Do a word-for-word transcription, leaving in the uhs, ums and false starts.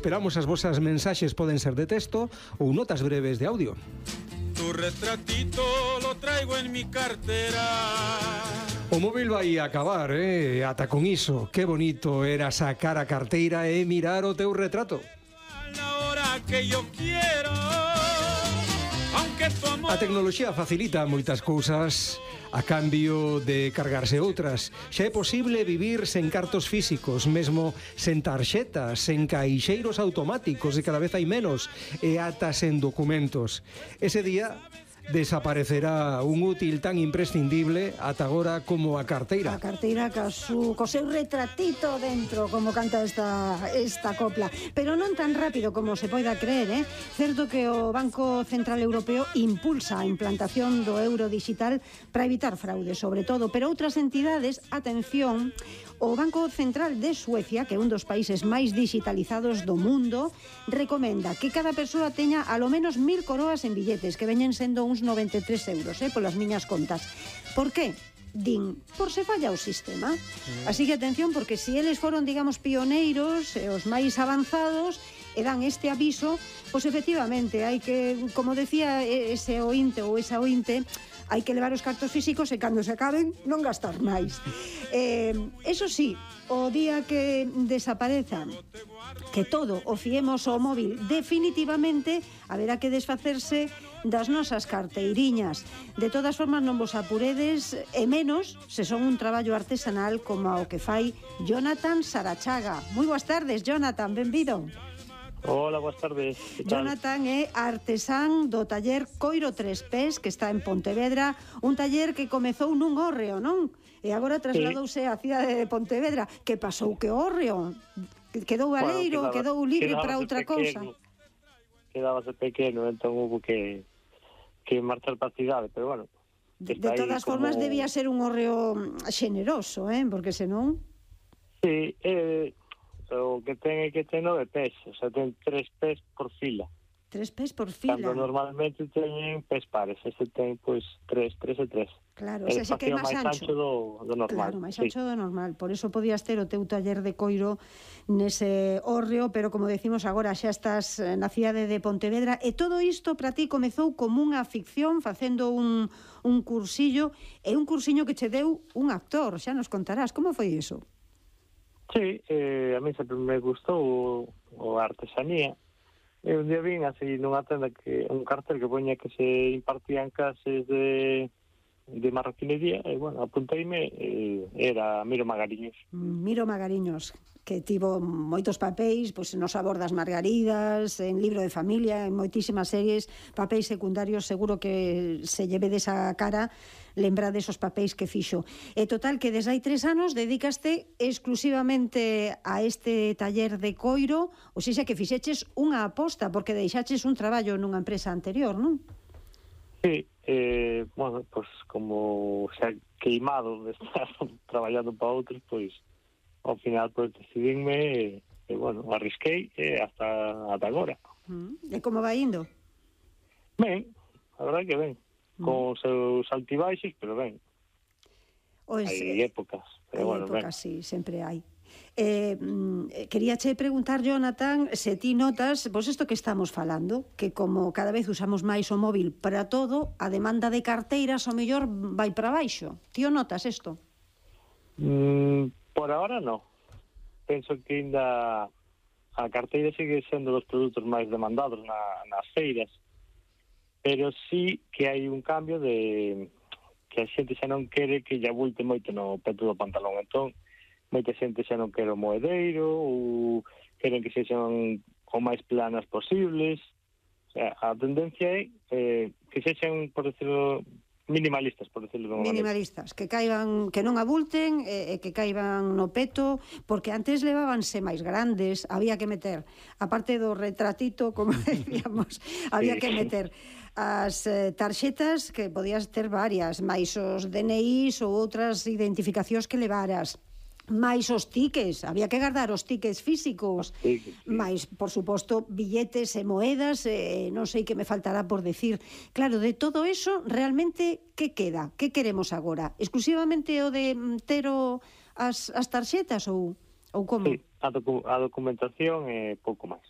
Esperamos as vosas mensaxes, poden ser de texto ou notas breves de audio. Tu retratito lo traigo en mi cartera. O móvil vai acabar, eh? Ata con iso. Que bonito era sacar a carteira e mirar o teu retrato. Que yo quiero, aunque tu amor... A tecnoloxía facilita moitas cousas a cambio de cargarse outras. Xa é posible vivir sen cartos físicos, mesmo sen tarxetas, sen caixeiros automáticos, e cada vez hai menos, e ata sen documentos. Ese día desaparecerá un útil tan imprescindible ata agora como a carteira. A carteira ca, su, co seu retratito dentro, como canta esta, esta copla. Pero non tan rápido como se poida creer, eh? Certo que o Banco Central Europeo impulsa a implantación do euro digital para evitar fraude, sobre todo, pero outras entidades, atención, o Banco Central de Suecia, que é un dos países máis digitalizados do mundo, recomenda que cada persoa teña alo menos mil coroas en billetes, que veñen sendo uns noventa e tres euros, eh, polas miñas contas. Por qué? Din, por se falla o sistema. Así que atención, porque se eles foron, digamos, pioneiros, e os máis avanzados, e dan este aviso, pois efectivamente, hai que, como decía ese ointe ou esa ointe, hai que levar os cartos físicos e cando se acaben non gastar máis. Eh, eso sí, o día que desaparezan, que todo o fiemos ao móvil definitivamente, haberá que desfacerse das nosas carteiriñas. De todas formas, non vos apuredes, e menos se son un traballo artesanal como o que fai Jonathan Sarachaga. Moi boas tardes, Jonathan, benvido. Hola, boas tardes. Jonathan é artesán do taller Coiro Tres Pés, que está en Pontevedra, un taller que comezou nun hórreo, non? E agora trasladouse á cidade de Pontevedra. Que pasou que hórreo? Quedou baleiro, bueno, quedou libre para outra cousa? Quedábase pequeno, entón hubo que, que marchar para a cidade, pero bueno. De, de todas como... formas, debía ser un hórreo xeneroso, eh? Porque senón... Sí, eh... o que ten é que ten nove pés, o sea, ten tres pés por fila. Tres pés por fila? Cando normalmente teñen pés pares, este ten, pois, tres, tres e tres. Claro, o sea, xe que é máis ancho. ancho do, do normal. Claro, máis ancho sí. do normal. Por eso podías ter o teu taller de coiro nese hórreo, pero como decimos agora, xa estás na cidade de Pontevedra, e todo isto para ti comezou como unha ficción, facendo un, un cursillo, e un cursiño que che deu un actor, xa nos contarás. Como foi iso? Sí, eh, a mí sempre me gustou o, o artesanía. E un día vin así nunha tenda que un cartel que poña que se impartían clases de, de marroquinería, e, bueno, apunteime, e era Miro Magariños. Miro Magariños, que tivo moitos papéis, pois no Sabor das Margaridas, en Libro de Familia, en moitísimas series, papéis secundarios, seguro que se lleve desa cara lembrar desos papéis que fixo. E total, que desde hai tres anos dedicaste exclusivamente a este taller de coiro, ou seja, que fixeches unha aposta, porque deixaches un traballo nunha empresa anterior, non? Sí, eh, bueno, pues como xa queimado de estar traballando para outros, pois ao final pues, decidinme e, e bueno, arrisquei e hasta, hasta agora. Mm. E como vai indo? Ben, a verdade que ben. Con os seus altibaixos, pero ben. Ois, hai épocas, pero hai bueno, épocas, ben. sí, sempre hai. Eh, quería che preguntar, Jonathan, se ti notas, pois isto que estamos falando, que como cada vez usamos máis o móvil para todo, a demanda de carteiras o mellor vai para baixo. Ti o notas isto? Mm, por ahora no. Penso que ainda a carteira sigue sendo dos produtos máis demandados na, nas feiras, pero sí que hai un cambio de que a xente xa non quere que lle abulte moito no peto do pantalón. Entón, moita xente xa non quere o moedeiro ou queren que sexan o máis planas posibles. O sea, a tendencia é eh, que sexan, por decirlo, minimalistas, por decirlo de unha maneira. Minimalistas, que caiban, que non abulten e, e que caiban no peto, porque antes levábanse máis grandes, había que meter, aparte do retratito, como decíamos, había sí. que meter as eh, tarxetas, que podías ter varias, máis os D N Is ou outras identificacións que levaras, máis os tiques, había que guardar os tiques físicos, sí, sí. máis, por suposto, billetes e moedas, eh, non sei que me faltará por decir. Claro, de todo eso, realmente, que queda? Que queremos agora? Exclusivamente o de ter o, as, as tarxetas ou, ou como? Sí, a, docu a documentación é pouco máis.